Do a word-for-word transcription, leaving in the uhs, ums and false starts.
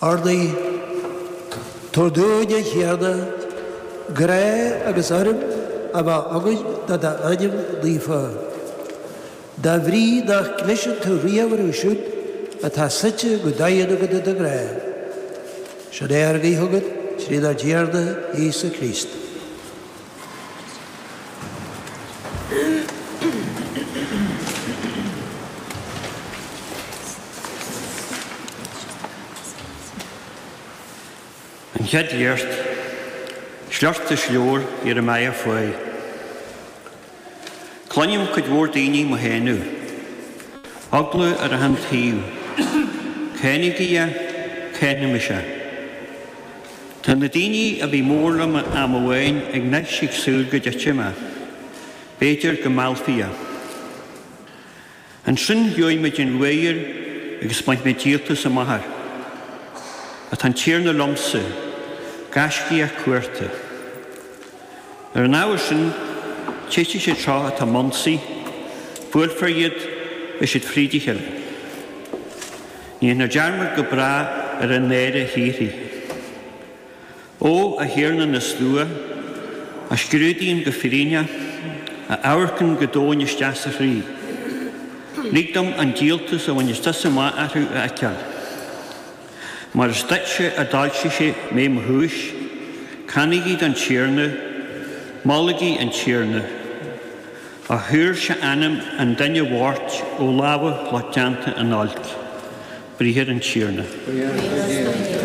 Urnaí. Tabhair dúinn, a Thiarna, grá agus urraim a bheith againn do d'ainm naofa. De bhrí nach gcliseann tú riamh orthu siúd atá suite go daingean agat i do ghrá. Sin é ár nguí chugat trínár dTiarna Íosa Críost. An Chéad Léacht, Sliocht as leabhar Iaramiah fáidh. Cluinim cuid mhór daoine mo shéanadh. Eagla ar achan taobh. Cáinigí é, cáinfimis é. Tá na daoine a bhí mór liom am amháin ag anois ag súil go dtitfidh mé. B'fhéidir go meallfaí é. Ansin gheobhaidh muid an ruathar agus bainfidh muid díoltas amach air. Ach tá an Tiarna liomsa, gaiscíoch cumhachta. Ar an ábhar sin, titfidh siad seo atá m'ionsaí, buailfear iad, beidh siad fríd a chéile. Ní dhéanfar dearmad go bráth ar an náire shíoraí. Ó, a Thiarna na slua, a scrúdaíonn go fírinneach, a amharcann go domhain isteach sa chroí, lig dom an díoltas a bhaineas tusa amach orthu a fheiceáil. Mar is duitse a d'fhoilsigh sé mé mo chúis, canaigí don Tiarna, molaigí an Tiarna. A shaor sé anam an duine bhoicht ó lámha lucht déanta an oilc. Briathar an Tiarna. Buíochas le Dia.